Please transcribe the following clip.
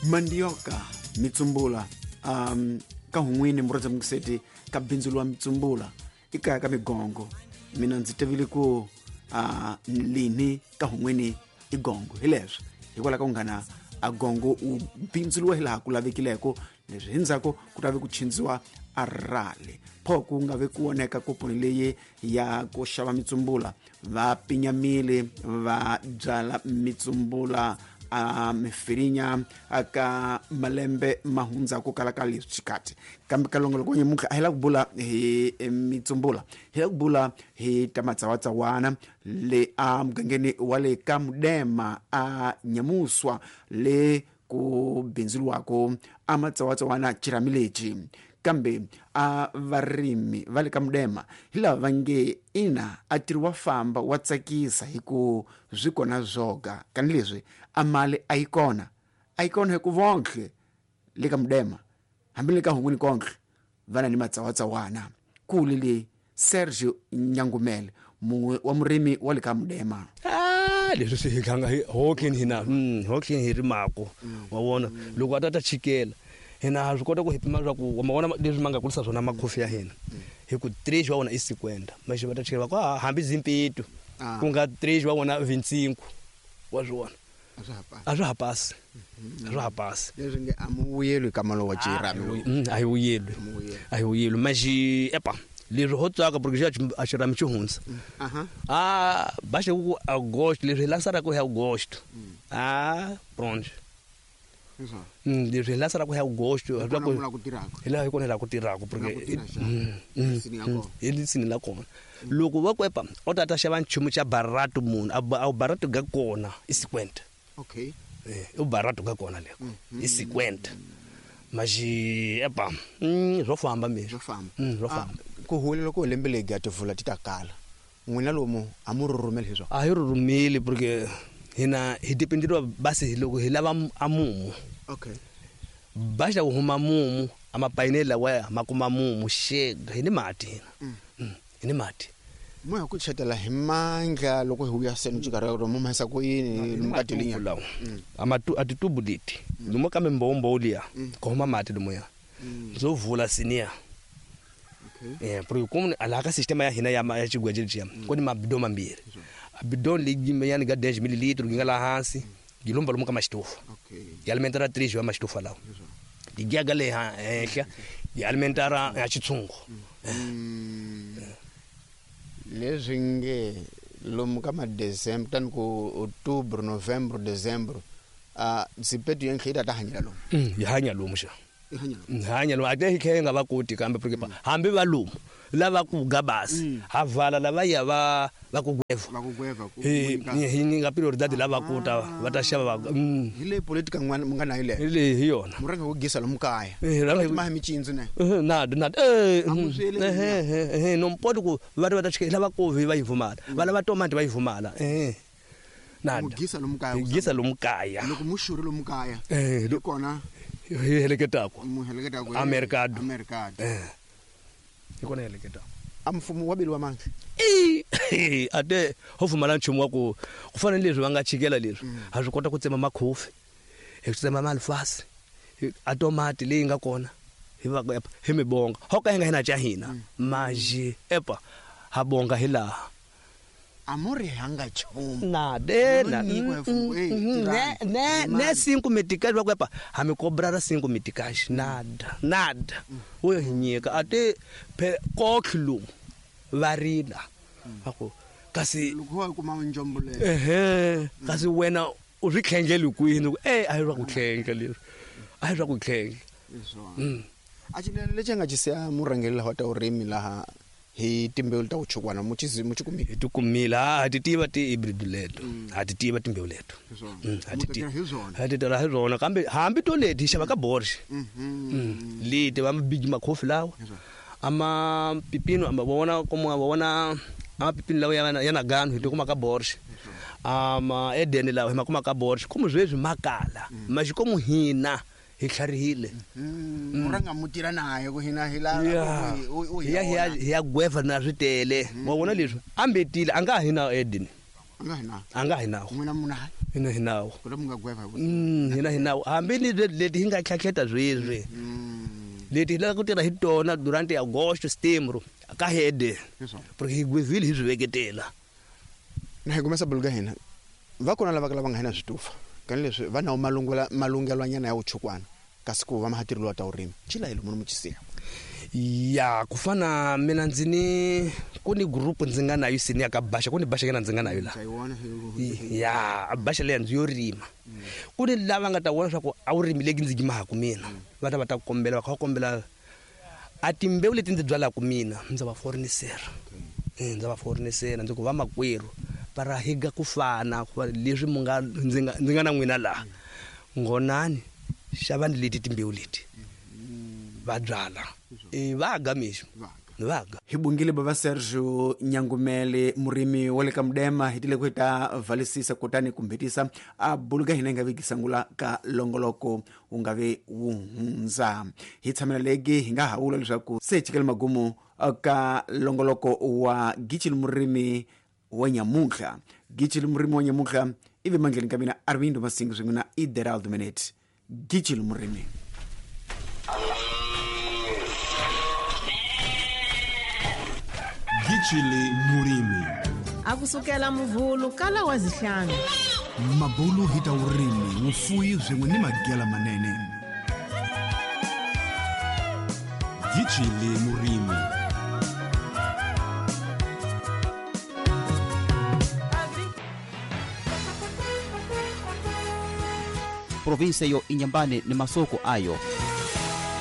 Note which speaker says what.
Speaker 1: Mandioca mitsumbula ka hun'wini murhandza mukiseti ka bindzu lwa mitsumbula i kaya ka migongo. Mina ndzi tivile ku lini ka hun'wini i gongo hi leswi hikwalaho ka ku nghana a gongo u bindzuriwa hi laha ku lavekileko leswi hi ndzhaku ku ta ve ku chindziwa a rale pho ku nga ve ku voneka koponi leyi ya ku xava mitsumbula va pinyamile va byala mitsumbula a mifirinya aka malembe ma hundza ku kala ka leswi xikati kambe ka longoloko wa nyamuntlha a hi la ku bula hi mitsumbula hi la ku bula hi ta matsawatsawana le a mugangeni wa le ka Mudema a Nyamuswa le ku bindzuriwako a matsawatsawana xirhami lexi kambe a varimi va le ka Mudema hi lava va nge ina a tirhi wa famba wa tsakisa hi ku swi kona zwoga kani leswi a mali a yi kona a yi kona hi ku vonhle le ka Mudema hambi le ka Hungwini konhle va na ni matsawatsawana kule le Sergio Nyangumele mun'we wa murimi wa le ka Mudema.
Speaker 2: Leswi swi hi tlanga hi hotleni hina hotleni hi rimako wa vona loko a ta ta chikela hina ha swi kota ku hi pima swa ku wa ma vona leswi ma nga kulisa swona makhofi ya hina hi ku três wa vona i cinquenta maxi va ta chikela va ku a hambi zimpeto ku nga três wa vona vincinco wa swi vona a swa ha pasi a swa ha pasi
Speaker 1: leswi nge a mu vuyelwi ka malo wa xirhami
Speaker 2: a hi vuyelwi a hi vuyelwi maxi epa leswi ho tsaka porque xa a xirhami xi hundza a ba xi ku agosto leswi hi lansaraka hi agosto a pronto leswi hi lansaraka hi agosto hi laha hi kona hi laha ku tirhaka porque hi lisini la kona loko va kwepa o ta ta xava nchumu xa barato munhu a barato ga kona i cinquenta
Speaker 1: okay
Speaker 2: i barato ga kona leko i cinquenta maxi epa swo famba mi
Speaker 1: swo famba
Speaker 2: swo famba
Speaker 1: ku huwelela ku lembe leri ga tivula ti ta kala n'wina lomu a mu rhurhumeli hi swona
Speaker 2: a hi rhurhumeli porque hina hi dependeriwa basi loko hi lava a mumu
Speaker 1: okay
Speaker 2: ba xa ku huma mumu a mapayineli lawaya ma kuma mumu xega hi ni mati hina hi ni mati
Speaker 1: mo ya ku chetela hi mandla loko hi vuya seni xikarhi ka mo mahisa ku yini lomu ka tilinya
Speaker 2: lawa a matu a titubu leti lomu ka mimbowombowo liya ku huma mati lomuya ndzo vula siniya eh porque como laha ka sistema ya hina ya ya xigweje lexiya ku ni mabidon mambirhi a bidon leyi yani ga 10 mililitro yi nga laha hansi yi lomba lomu ka maxitofu yi alimentara 3 ya maxitofu lawa yi giyaga le henhla yi alimentara ya xitshungu
Speaker 1: leswi nge lomu ka ma-december tani ku october november december zipetu yenhle yi ta ta hanyela lomu
Speaker 2: yi hanya lomu xa hanya lomu a te hi tlhela hi nga va koti kambe porque hambi va lomu lava ku ga basi ha vala lava ya va va ku gweva hi nyika prioridade lava ku ta va ta xava va
Speaker 1: hi le politika n'wana mu nga na yile
Speaker 2: hi le hi yona
Speaker 1: mu rhanga ku gisa lomu kaya
Speaker 2: rhanga
Speaker 1: hi ma micindzo ne
Speaker 2: na na no mpoti ku va ta va ta chika lava kovi va yi vumala va lava tomati va yi vumala
Speaker 1: na mugisa lomu kaya
Speaker 2: gisa lomu kaya
Speaker 1: loko mu xuri lomu kaya hi kona
Speaker 2: hi heleketako
Speaker 1: mu heleketako
Speaker 2: americado
Speaker 1: americado
Speaker 2: hi kona hi heleketako
Speaker 1: a mfumo wa beliwa mandla
Speaker 2: i a te ho pfumala nchumu wa ku ku fana ni leswi va nga chikela leswi ha swi kota ku tsema makhofi hi tsema malifasi a tomati leyi nga kona hi va epa hi mi bonga ho ka hi nga hina ca hina maji epa ha bonga hi laha
Speaker 1: a mo ri hanga nchumu
Speaker 2: na de na
Speaker 1: Nyiko ya mfumo, eh, tirhani.
Speaker 2: ne ne cinco meticais va ku epa ha mi cobrar cinco meticais nada nada wo hi nyika a te phe kotlhi lomu va rila va ku kasi
Speaker 1: loko wa kuma njombo leyo
Speaker 2: ehe kasi wena u swi tlhendleli kwini ku e a hi swa ku tlhendla leswi a hi swa ku tlhendla
Speaker 1: swona a xinene lexi nga xi siya murhangeri laha wa ta vurimi laha hi timbewu ta ku chukwana mu xi mu xi kumile
Speaker 2: hi ti kumile ha ti tiva ti-hybrid leto ha ti tiva timbewu leto ha
Speaker 1: Mu
Speaker 2: ti
Speaker 1: ta
Speaker 2: tiva
Speaker 1: tirha hi swona
Speaker 2: ha ti tirha hi swona kambe hambi to leti hi xava ka borsh leti va mabigi makhofi lawa ama pipino ama vona kuma va vona ama pipino lawa ya na ganu hi ti kuma ka borsh ama edeni lawa hi ma kuma ka borsh komu sweswi makala maxikomu hina hi tlharihile
Speaker 1: mu rhanga mu tirha naye ku hina hi la
Speaker 2: hi ya hi ya hi ya gweva na swi tele wa vona leswi ambetile a nga ha hi na edeni A nga hi nawo.
Speaker 1: N'wina muna
Speaker 2: Hina hi nawo.
Speaker 1: Ku mu nga gweva hi
Speaker 2: Hina hi nawo. Hambi ni leti hi nga tlhatlheta sweswi. Leti hi lava ku tirha hi tona durante agosto, setembro ka hede. Porque hi gwevile hi swi veketela.
Speaker 1: Na hi kumesa buluka hina. Va kona lava lava nga hina switufa. Kani leswi va nawo malungelwanyana ya vuchukwana. Kasi ku va mahatirilo ta urimi. Chila hi lomu muchisiya.
Speaker 2: Ya ku fana mina ndzi ni ku ni group ndzi nga nayo sini ya ka Baxa, ku ni Baxa yena ndzi nga nayo la. Ya Baxa leya ndzi yo rima. Ku ni lava nga ta vona swa ku a wu rimi leki ndzi gimaku mina. Va ta va ta kombela, va kha va kombela a timbewu leti ndzi byalaka mina ndza va forenisera. Ndza va forenisera ndzi ku va makwerhu va ra higa ku fana leswi mu nga ndzi nga na n'wina laha. Ngonani xavani leti timbewu leti. Va byala. Va ga mixo. Vaga.
Speaker 1: Hi bungile baba Sergio Nyangumele murimi wa le ka Mudema hi tile ku ta valisisa kutani kumbhetisa a buluka hina nga viki sangula ka longoloko wu nga ve wu hundza. Hi tshamela legi hi nga hawula leswaku se chikele magumu ka longoloko wa Gitshili murimi wa nyamuntlha. Gitshili murimi wa nyamuntlha ivi mandleni ka mina Armindo Masingo swin'we na Ideraldo Menet. Gitshili murimi.
Speaker 3: Gitshili murimi.
Speaker 4: Akusukela muvhulu kala wa zihlanu.
Speaker 1: Mabulu hita urimi wufuyi swin'we ni magela manene.
Speaker 3: Gitshili murimi.
Speaker 5: Provinsia yo Inhambane ni masoko ayo.